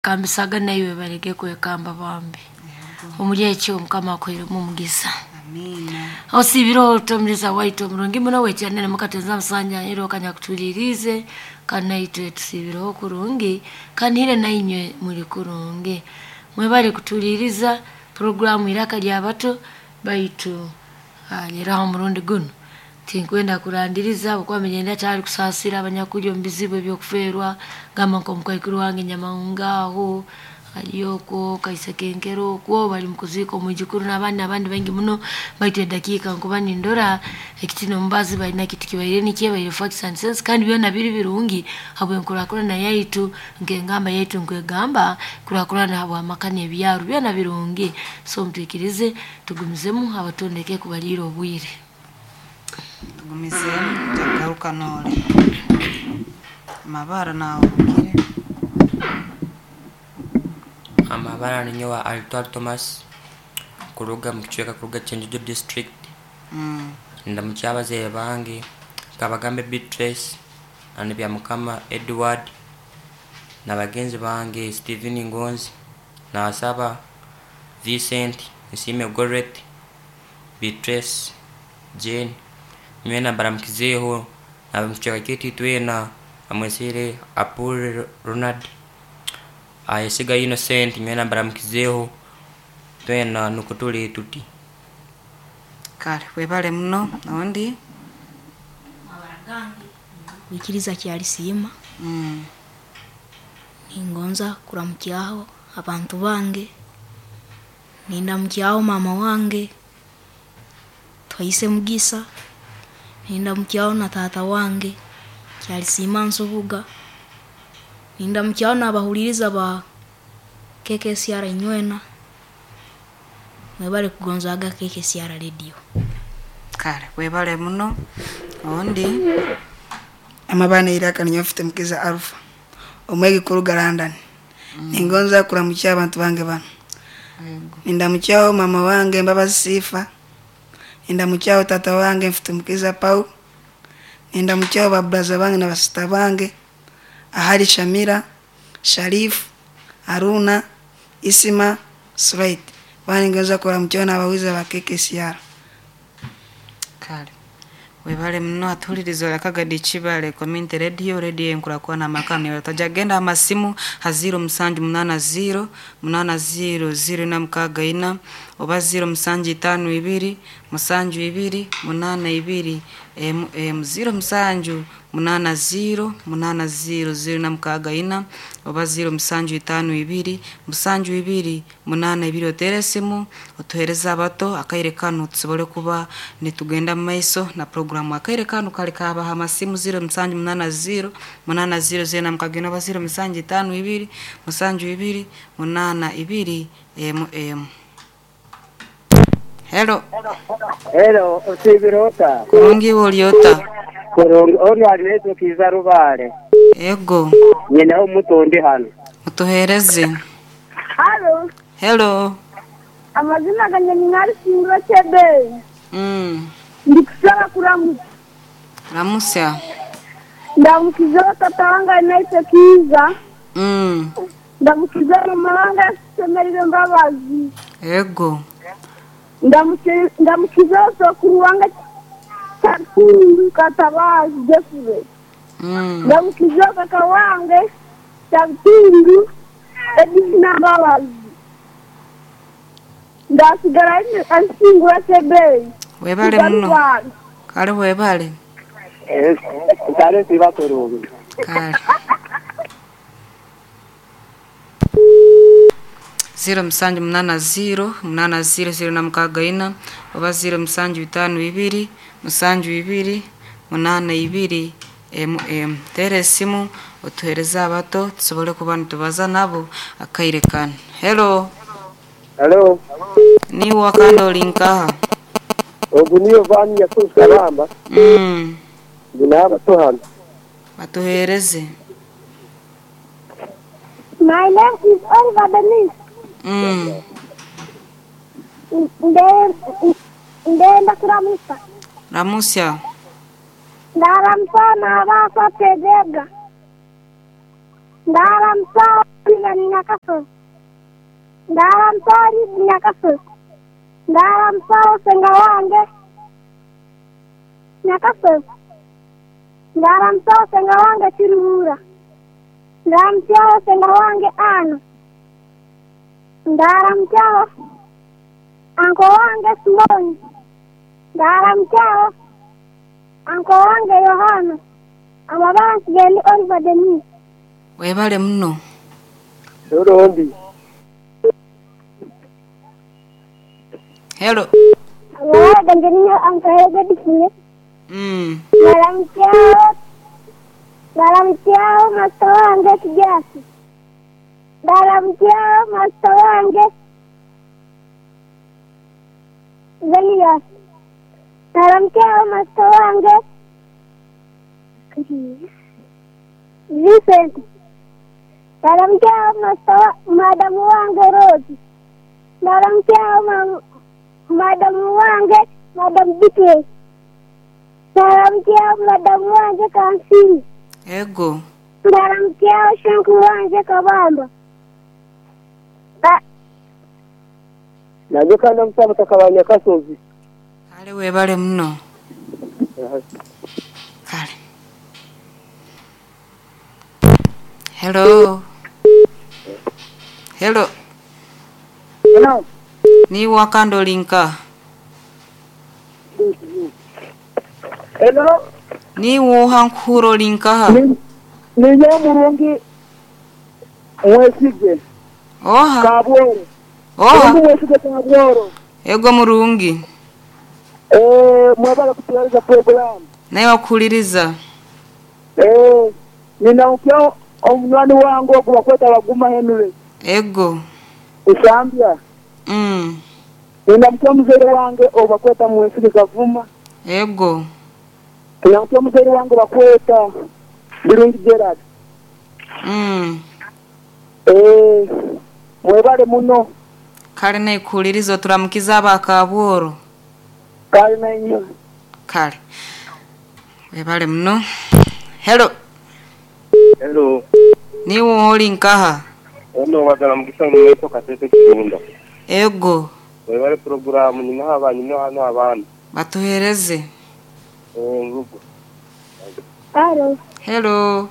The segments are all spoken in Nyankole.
Kambisaga naiwe baleke kwekamba bambi. Omuri ekyo Mukama akuhairemu omugisa. Amiina. Osiibire otomiriza waitu omurungi muno wekyanire mukatenza musanja era okanyakutuliirize kandi naitwe tusiibireho kurungi kandi hire nainywe muri kurungi. Mwebale kutuliiriza puroguramu Iraka ly'Abato baitu leraho omurundi gunu tinkwenda kurandiriza habwokuba manyire ndakyali kusaasira abanyakurya omu bizibu eby'okufeerwa gamba nk'omukaikuru wange Nyamahunga aho ali okwo Kaisekenkero okwo bali mukuziika omwijukuru n'abandi n'abandi baingi muno baitu edakiika nkuba nindora ekiti n'omubazi balina kitu kibaire nikyo baire facts and sense kandi byona biri birungi habw'enkurakurana yaitu nk'engamba yaitu nkwegamba kurakurana habw'amaka n'ebyaro byona birungi so mutwikirize tugumizemu abatondeke kubaliira obwire. Tugumizeemu tujja noole. Amabara naahurukire. Amabara ninyowe Alitwala Thomas kuruga mukicweka kuruga Kyenjojo district. Ndamukya abazaire bange Kabagambe Beatrice na Byamukama Edward na bagenzi bange Stephen Ngonzi, Nasaba Vincent, Nsiime Gorret, Beatrice, Jane, nywena mbaramukizeeho ab'omukicweka kyaitu itwena amwesere Apul Ronald, Ayesiga Innocent nywena mbaramukizeeho twena nukwo tuli tuti. Kale webale muno ondi. Amabara gange kwikiriza Kyalisiima. Ningonza kuramukyaho abantu bange, nindamukyaho maama wange Twaise Mugisa, nindamukyaho na taata wange Kyalisiima Nsubuga, nindamukyaho n'abahuliriza ba KKCR inywena, mwebale kugonzaaga KKCR radio. Kale webale muno ondi. Amabara Iraka ninyowe mfite Mukiza Alpha omwegi kuruga London. Ningonza kuramukya abantu bange banu. Yego. Nindamukyaho mama wange Mbabazi Sifa, nindamukyaho tata wange mfite Mukiza Paul, nindamukyaho baburaza bange na basista bange ahali Shamira, Sharifu, Haruna, Isima, Sulaiti. Bana ningonza kuramukyaho n'abawiza ba KKCR. Kale webale muno atuhuliriza olakagadi Kibale Community Radio, radio enkurakurana amaka niwe genda amasimu ha 0780 80 064 oba 0752 72 82 mm 07 80 80 064 oba 0752 72 82 otere esimu otuhereze abato akaire kanu tusobole kuba nitugenda mumaiso na puroguramu akaire kanu kali kabaha amasimu 0780 80 064 oba 0752 72 82 mm. Hello. Hello, osiibire ota? Kurungi iwe ori ota? Kurungi, onu ali Kiiza Rubare. Ego. Nyinaho omuto ndi hano. Mutuhereze. Halo, Hello. amazina gange ni Nalisingwa Chebe. Ndikusaba kuramuka. Ramusya. Ndamukiza tata wange anaitwa Kiiza. Ndamukiza mama wange Semerire Mbabazi. Ego. Ndamukiza sokuru wange Chatundu Katabazi Jeffrey. Ndamukiza kaka wange Chatundu Edina Mbabazi. Ndasigara Nsingura Chebe. Webale muno. Kale webale. Kale siba kurungi. Kale. 0780 80 064 oba 0752 72 82 mm. Tera esimu otuhereze abato tusobole kuba nitubaza nabo akaire kanu. Hello. Hello. Niwe kandi ori nkaha? Ogu niyo vani yakuruka bamba. Ndi n'abato hano. Batuhereze. My name is Oliver Denis. Ndenda kuramusa. Ramusya. Ndaramusa n'abaasa Tebega. Ndaramusa Steven Nyakasozi. Ndaramukyaho Liz Nyakasozi. Ndaramukyaho Senga wange Nyakasozi. Ndaramukyaho Senga wange Kiruhura. Ndaramukyaho Senga wange Ana. Ndaramukyaho anko wange Simoni. Ndaramukyaho anko wange Yohana. Amabara nsigaye ni Oliver Denis. Webale muno. Rundi. Hello. Amabara ganje niyo anko Godfrey. Ndaramukyaho ndaramukyaho masita wange Kijasi. Ndaramukyaho masita wange Zenias. Ndaramukyaho masita wange Vincent. Ndaramukyaho masita madamu wange Rose. Ndaramukyaho madamu wange madamu Beatrice. Ndaramukyaho madamu wange Kansini. Ego. Ndaramukyaho shanku wange Kabamba. Naje kandi amusaba takabanya Nyakasozi. Kale webale muno. Kale. Hello. Hello. Hello. Ni wakando linka. Hello. Ni woha nkuro linka. Ni nyamurungi mwesige. Oha. Kabworo. Oha. Mwesige kabworo. Ego murungi. Mwabala kutuweza program. Naye wakuliriza. Ninaukya omunywani wange ogwo bakweta Baguma Henry. Ego. Usambya. Ninamukya muzeere wange ogwo bakweta Mwesige Kavuma. Ego. Ninamukya muzeere wange bakweta Birungi Gerard. Mwebale muno. Kale naikuliriza turamukiza abakabworo. Kale nainyo. Kale. Webale muno. Hello. Hello. Ni woli nkaha. Ono wagala mugisa mweto katete kigunda. Ego. Webale programu nyina abanyu no hano abana. Batuhereze. Ngugo. Hello. Hello.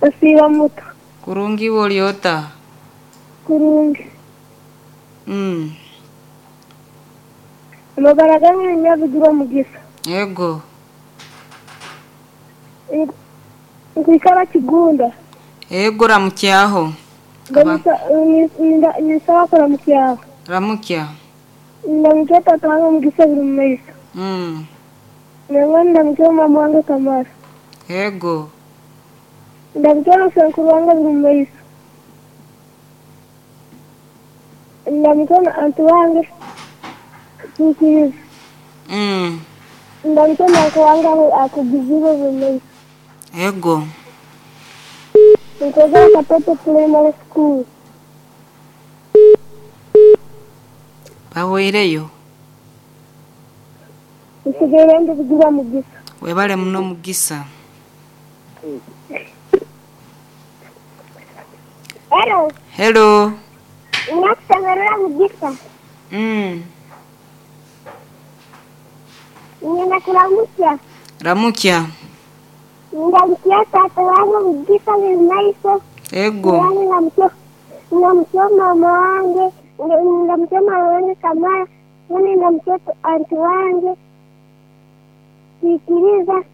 Asiba muto. Kurungi woliota. Kurungi. Amabara gange nyabigirwa mugisa. Ego. Nkwikara Kigunda. Ego ramukyaho. Nisaba kuramukyaho. Ramukya. Ndamukya tata wange Mugisa buri mumaiso. Nangwa ndamukya mama wange Kamara. Ego. Ndamukya na wange buri mumaiso. Ndamukya na anti wange Tukiriza. Ndamukya na uncle wange akugizibe buri mumaiso. Ego. Nkoza Katete Primary School. Bawereyo. Nsigaye ndi kugira Mugisa. Webale muno Mugisa. Hello. Hello. Nakusemerera Mugisa. Ngenda kuramukya. Ramukya. Ndamukya tata wange Mugisa buri maiso. Ego. Ndamukya mama wange. Ndamukya mama wange Kamara. Ndamukya anti wange Sikiriza.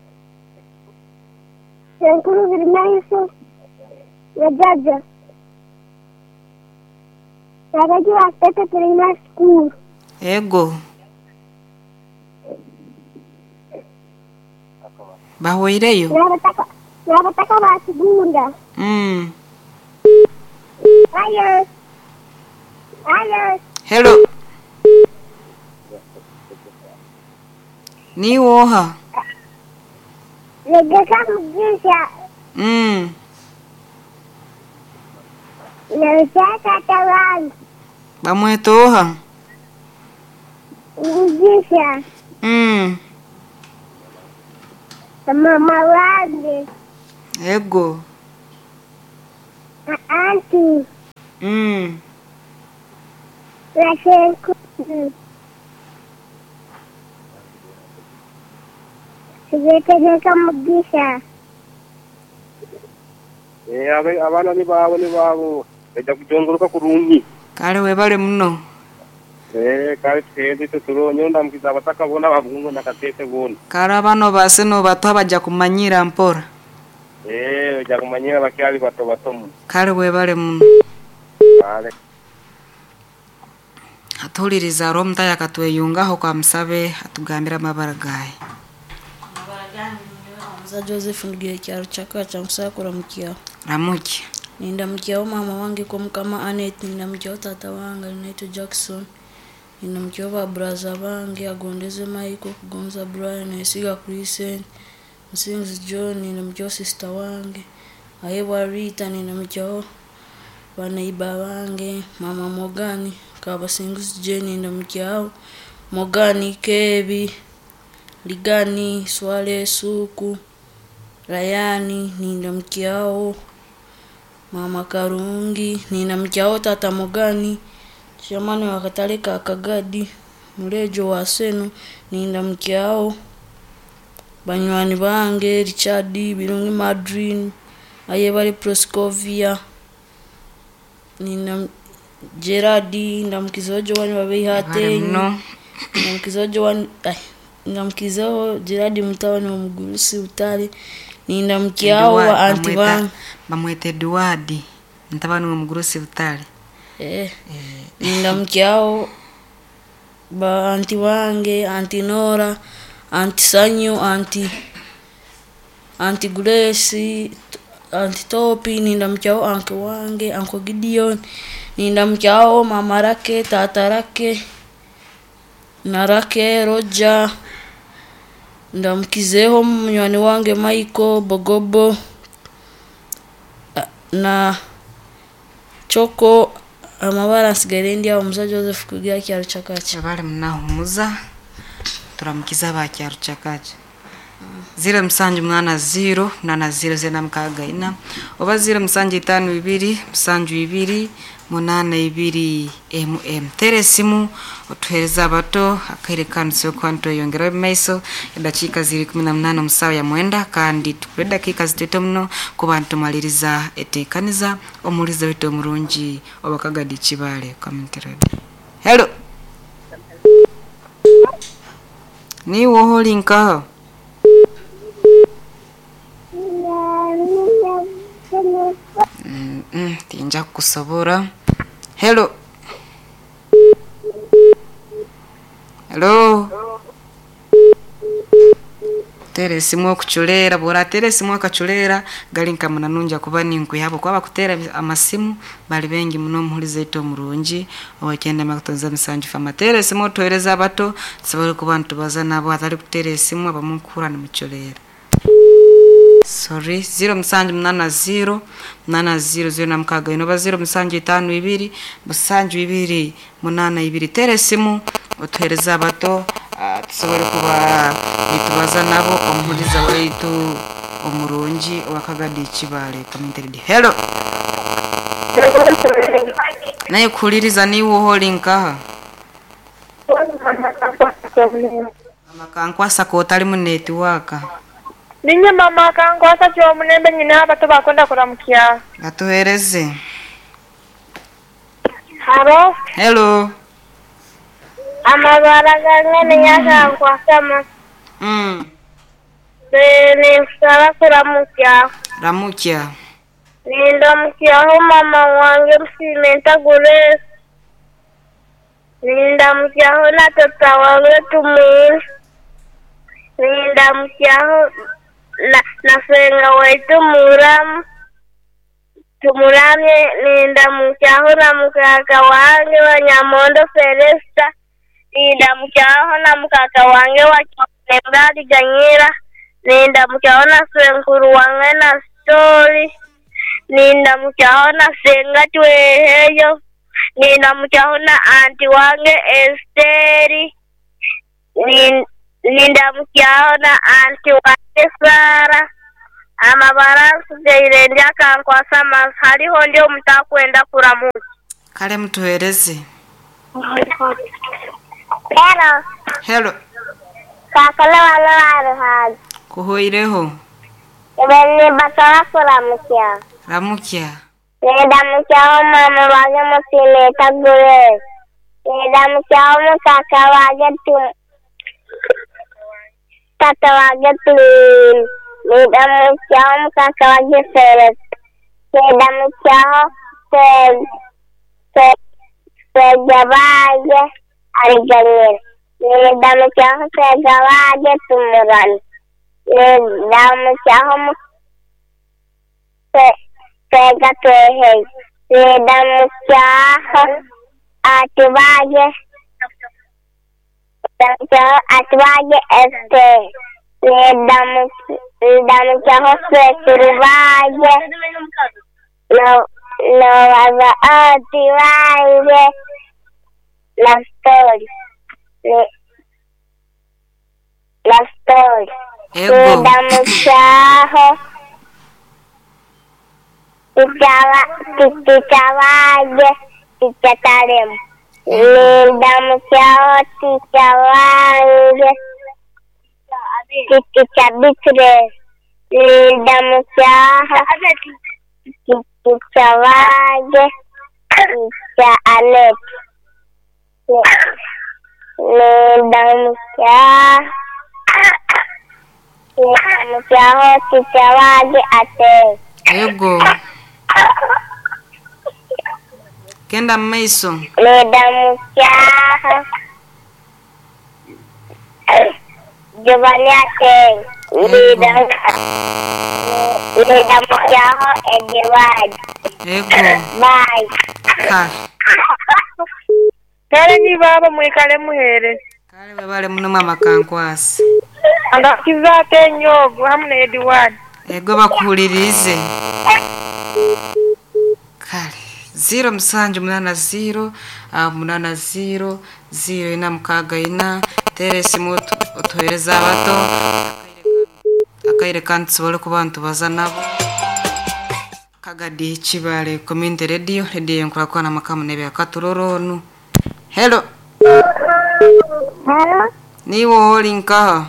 Senkuru buri maiso. Na jaja. Nabagi wa Katete Primary School. Ego. Bawereyo. Nabataka ba Kigunda. Ayo. Ayo. Hello. Ni woha. Negeka Mugisa. Ndamukya tata wange Bamwetoha. Mugisa. Mama wange. Ego. Na anti. Mm. Na shenkuru. Sigetegeka Mugisha. Eh, abe- abaana ni baabo ni baabo bajja kujongoroka kurungi. Kale webale muno. Eh, kale tugende itwe turonye ndamukiza abataka boona babungo na Kasese boona. Kale abaana obaase nobatuha bajja kumanyira mpora. Eh, bajja kumanyira bakyali bato bato muno. Kale webale muno. Kale. Atuhuliriza hariho omutahi akatweyungaho kamusabe atugambire amabara gaaye. Muza Joseph ndugiire kyaro kyaka nkusaba kuramukyaho. Ramukya. Nindamukyaho maama wange Komukama Annet, nindamukyaho taata wange Alinaitwe Jackson, nindamukyaho ba buraza bange Agondeze Michael, Kugonza Brian, Nesiga Crescent, Musinguzi John, nindamukyaho sister wange Ahebwa Rita, nindamukyaho baneiba bange mama Morgan, Kabasinguzi Jane, nindamukyaho Morgan, Kebi, Ligani, Swale, Suku, Rayani, nindamukyaho mama Karungi, nindamukyaho tata Morgan, chairman wa katale ka Kagadi, Mulejo wa Seno, nindamukyaho banywani bange Richard, Birungi Madrine, Ayebare Proscovia, ninda Gerard, ndamukizaho Joan Webale Babeihatenyi, muno. ndamukizaho Joan ai, ndamukizaho Gerard mutabani wa Mugurusi Butare, nindamukyaho Eduard, ba anti bamweta bange. bamweta Eduard mutabani wa Mugurusi Butare. Eh, nindamukyaho ba anti bange, anti Nora, anti Sanyu, anti anti Grace, anti Topi, nindamukyaho anke wange, anko Gideon, nindamukyaho mama Rake, tata Rake, na Rake Roger, ndamukizeho munywani wange Michael Bogobo na Choko amabara nsigaire ndi aho Muza Joseph kugira kyaro kyakaki. Webale munahumuza turamukiza aba kyaro kyakaki. 0780 80 064 oba 0752 72 82 mm. Tera esimu otuhereze abato akaire kanu tusobole kuba nitweyongeraho omu maiso. Edakiika ziri 18 omu saawa ya mwenda kandi tukure edakiika zitaito muno kuba nitumaliriza eteekaniza omuhuriza waitu omurungi owa Kagadi Kibaale Community Radio. Hello. Niiwe oha ori nkaha? Mm, tinja kukusobora. Hello. Hello. Tera esimu okucureera bw'orateera esimu akacureera gari nka munanungi akuba ninkwiha ahabw'okuba abakuteera amasimu bari baingi muno omuhuriza waitu omurungi owakyenda makutonza musanju fama. Teera esimu otuheereze abato tusobole kuba nitubaza nabo hatari kuteera esimu abamwe nkuhurra nimucureera. Sorry, 0780 80 06 oba 0752 72 82. Teera esimu otuheereze abato tusobole kuba nitubaza nabo omuhuriza waitu omurungi owa Kagadi Kibaale Community Radio. Hello. Naye kuhuririza niiwe oha ori nkaha? Mama Kankwasa k'otari mu netiwaaka. Ninye mama Kankwasa Kyomulembe nyina abato bakwenda kuramukya. Atuheereze. Haro. Hello. Amabara gange ni Kankwasa. Ninkusaba kuramukya. Ramukya. Nindamukyaho mama wange Musimenta Grace. Nindamukyaho na tata wange Tumwine. Nindamukyaho na senga waitu Muramu. Tumuramye. Nindamukyaho na mukaka wange wa Nyamondo Felesta. Nindamukyaho na mukaka wange wa Kyomulembali Ganyira. Nindamukyaho na senkuru wange na Stori. Nindamukyaho na senga Tweheyo. Nindamukyaho na anti wange Esteri. Nindamukyaho na anti wange Sara. Amabara nsigaire ndi akankwasa amazi hariho ndi omutakwenda kuramuka. Kale mutuhereze. Hello. Hello. Kakala wala waruhaga. Kuhoireho. Ebene basaba kuramukya. Ramukya. Nedamukyaho mama wange musimeta Grace. Nedamukyaho mukaka wange tu tata wange Tulini. Nedamukyaho mukaka wange Felix. Nedamukyaho Sega bange Ariganyira. Nedamukyaho Sega wange Tumurani. Nedamukyaho Sega Twehei. Nedamukyaho Atubage Nedamukyaho Atubage Esther. Nedamukyaho Sekuru bange Nobaza oti bange Naftoli. Naftoli. Ego. Nedamukyaho Ticha wange Ticha Taremu. Nedamukyaho ticha wange Ticha Beatrice. Nedamukyaho Ticha wange Ticha Annette. Nedamukyaho ticha wange Ate. Ego. Genda mu maiso. Nedamukyaho Giovanni Ate. Nedamukyaho Edward. Ego. Bye. Kale. Kale ni baba mwikale muhere. Kale webale muno mama kankwasi. Andakiza ate nyogo hamu ne Edward. Ego bakuhulirize. Kale. 0 musanju munana 0 munana 0 0 ina mukaaga ina teera esimu otuhereze abato akaire kandi tusobole kuba nitubaza nabo Kagadi Kibale Community Radio radio enkurakwana makamu nebyakaturoro onu. Hello. Hello. Niwe ori nkaha?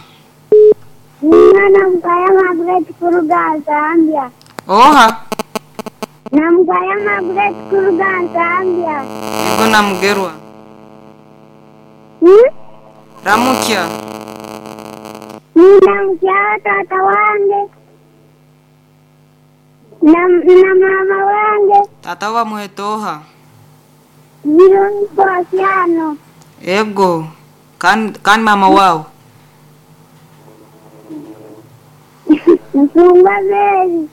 Mwana mukaya Margaret kuruga Zambia. Oha. Namukaya Margaret kuruga Zambia. Ego namugerwa. Ramukya. Ninamukyaho tata wange na mama wange. Tata bamuheta oha? Birungi Posiano. Ego. Kandi mama wawe? Nsungwa Mary.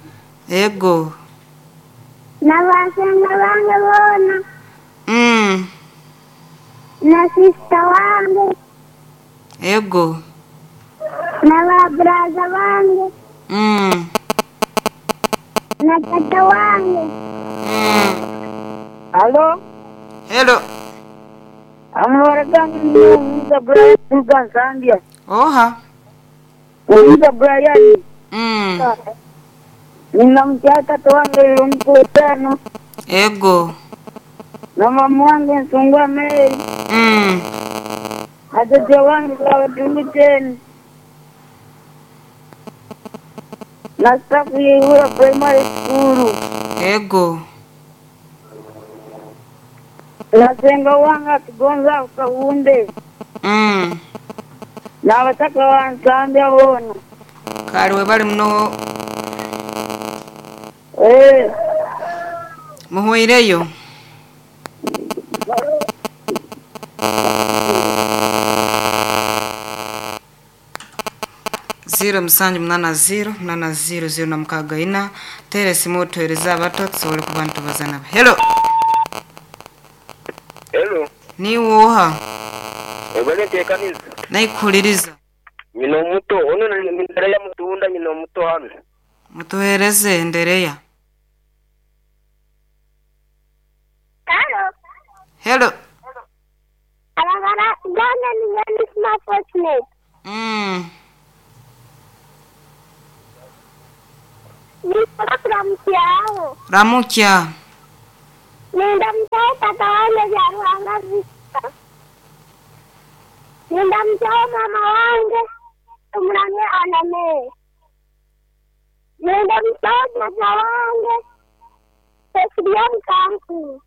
Ego. Na basenga bange boona. Na sisita wange. Ego. Na baburaza bange. Na tata wange. Halo. Hello. Amabara gange ni Musa Brian kuruga Zambia. Oha. Musa Brian. Ninamukyaho tata wange Birungi Posiano. Ego. Na mama wange Nsungwa Mary. Na tata wange Babatungu Na staff y'Ihura Primary School. Ego. Na senga wange atugonza Kahunde. Na abataka wa Nsambya boona. Kale webale muno. Muhweireyo. 0 musanju munana 0 munana 0 0 na mukaaga ina teera esimu otuhereze abato tusobole kuba nitubaza nabo. Hello. Hello. Niwe oha? Ebale nteekaniza. Naikuhuliriza. Nyina omuto ono ndereya mutunda nyina omuto hano. Mutuhereze ndereya. Hello. Hello. Amabara gange ni Nisma Fortunate. Nindamutsyaho. Ramukya. Nindamutsyaho tata wange Byaruhanga Victor. Nindamutsyaho mama wange Tumuramye Aname. Nindamutsyaho tata wange Cecilia Mukanku.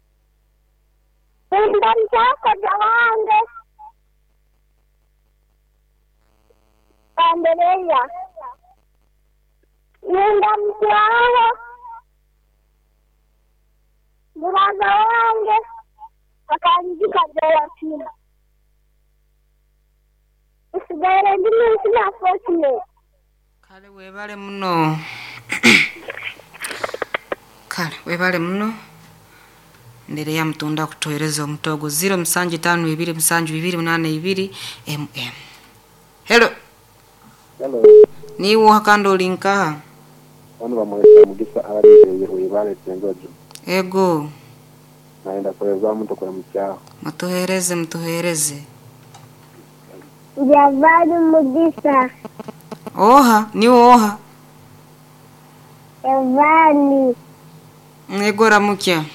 Nindamutsyaho kojja wange Andereya. Nindamutsyaho muraza wange Akanjika Joakim. Nsigaire ndi munsi na Fortunate. Kale webale muno. Kale webale muno. Ndere ya mutunda kutuhereza omutogo 0 7 5 2 7 2 8 2 mm. Hello. Hello. Niwo hakando olinkaha. Bano bamwesa Mugisa abaliteeye webale Kyenjojo. Ego. Naenda kuweza mtu kwa mchao. Mutuhereze mutuhereze. Javadi Mugisa. Oha, niwo oha. Evani. Ego ramukya.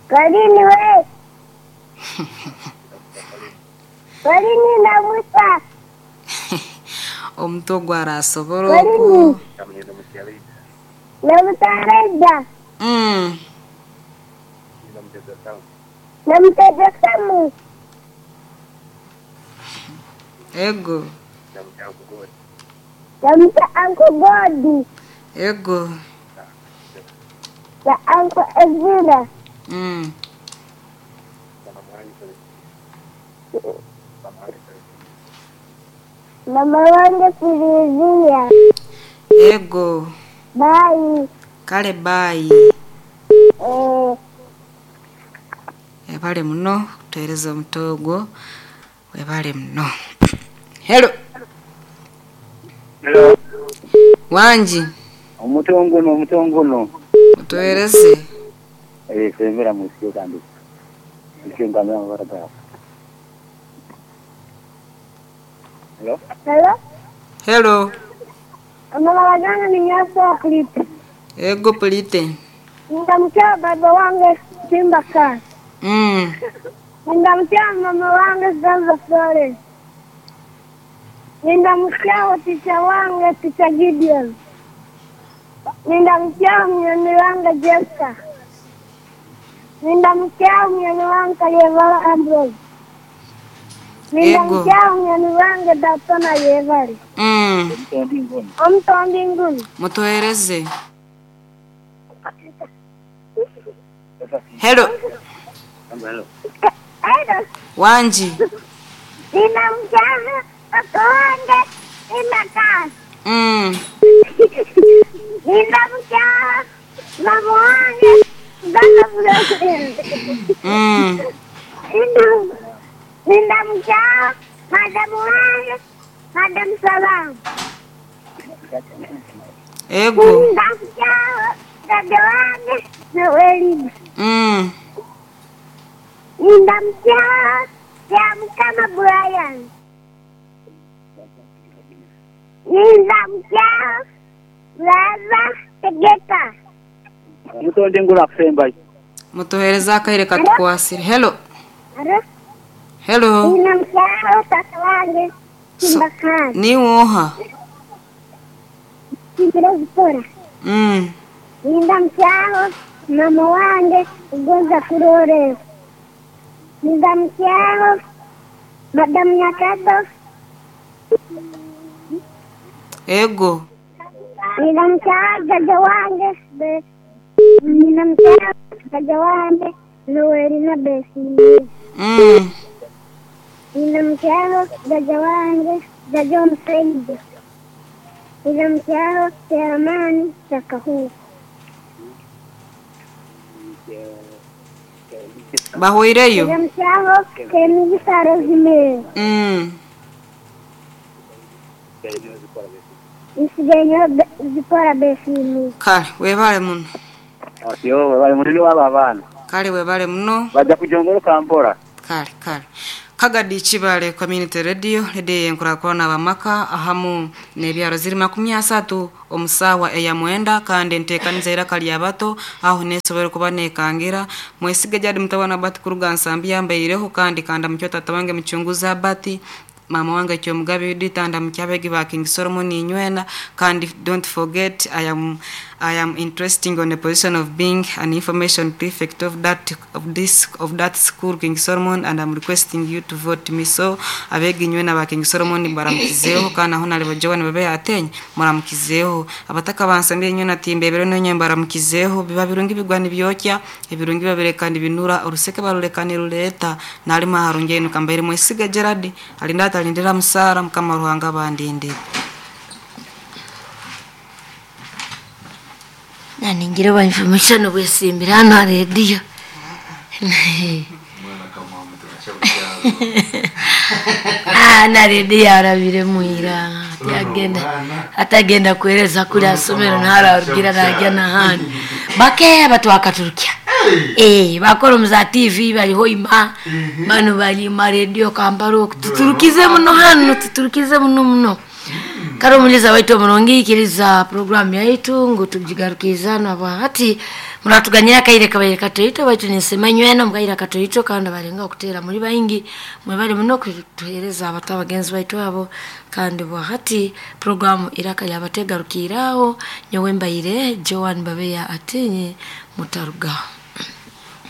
Kalini we. Kalini nabusa. Omuto gwarasobola oku. Nabusa Namutega Samu. Ego. Namuta Uncle Godi. Ego. Na Uncle Ezra. Mama wange Filizia. Ego. Bye. Kale bye. Webale muno kutuhereza omutogo. Webale muno. Hello. Hello. Wanji. Omutongono omutongono. Mutuhereze. Sembera musio kandi. Musio ngamera barabara. Hello. Hello. Hello. Mama wajana ni nyaso Plite. Ego Plite. Ndamkia baba wange Simba ka. Ndamkia mama wange Zanza Flores. Ndamkia ticha wange Ticha Gideon. Ndamkia mnyoni wange Jessica. Ndamkia mnyoni wange Kayevara Ambrose. Ndamkia mnyoni wange Datona Yevali. Omutondi nguni. Mutuhereze. Hello. Hello. Hello. Wanji. Ninamjana tata wange Simba. Ninamjana mama wange Zanza Flores. Ninamjana madamu wange Madam Salam. Ego. Ninamjana dada wange Noelina. Ninamjana ya Mkama Brian. Ninamjana Laza Tegeta. Mutonde ngula kusemba. Mutuhereza akaire katukwasire. Hello. Hello. Hello. Ninamjana tata wange Simba Khan. Ni oha. Kimbira Zipora. Ninamjana mama wange Ugonza Kurore. Ninamjana Madam Nyakato. Ego. Ninamjana dada wange Ninamjana dada wange Noelina Besi. Ninamjana dada wange Dada Msaidi. Ninamjana Teamani Sakahu. Bahoireyo. Ninamjana Kemigisa Rosemary. Nsigaye zikora Besi. Kale webale muno. Yo webale muno waba abaana. Kale webale muno. Bajja kujongoloka mpola. Kale kale. Kagadi Chibale Community Radio, radio yenkurakurana abamaka ahamu n'ebyaro ziri 30 omusawa eya mwenda, kandi enteekaniza iraka lya bato aho nesobora kuba nekangira. Mwesige jadi mutabana bati kuruga nsambi yambaireho, kandi kanda mukyo tata wange muchunguza bati mama wange Kyomugabe Judith, and mukyabegi ba King Solomon inywena. Kandi don't forget I am interesting on the position of being an information prefect of that of this of that school King Solomon, and I'm requesting you to vote me. So abegi inywena ba King Solomon baramukizeho, kandi aho nali bajowa babe atenye muramukizeho. Abataka bansambye inywena timbebero nonye baramukizeho. Biba birungi bigwa nibyokya ebirungi babirekana binura uruseke barurekana ruleta nalima harunge nukambaire Mwesiga Gerard alinda atalindira musara mukama Ruhanga bandinde. Naningira ba information obwesimbira hano ha radio. Na radio arabire muira atagenda atagenda kueleza kuri asomero ntararugira najya nahandi bake batwakaturukia. Bakora muza TV bariho ima bano bari ma radio kambaro tuturukize muno hano tuturukize muno muno. Karo muliza waitu omurungi ikiriza program yaitu ngu tujigarukizana bahati muratuganyira kaire kabaire katoito baitu nisema nywena mukaira katoito kandi barenga okutera muri baingi mwe bali muno kutuhereza abato abagenzi baitu abo. Kandi bahati program iraka yabategarukiraho nyowe mbaire Joan Babeya atinye mutaruga.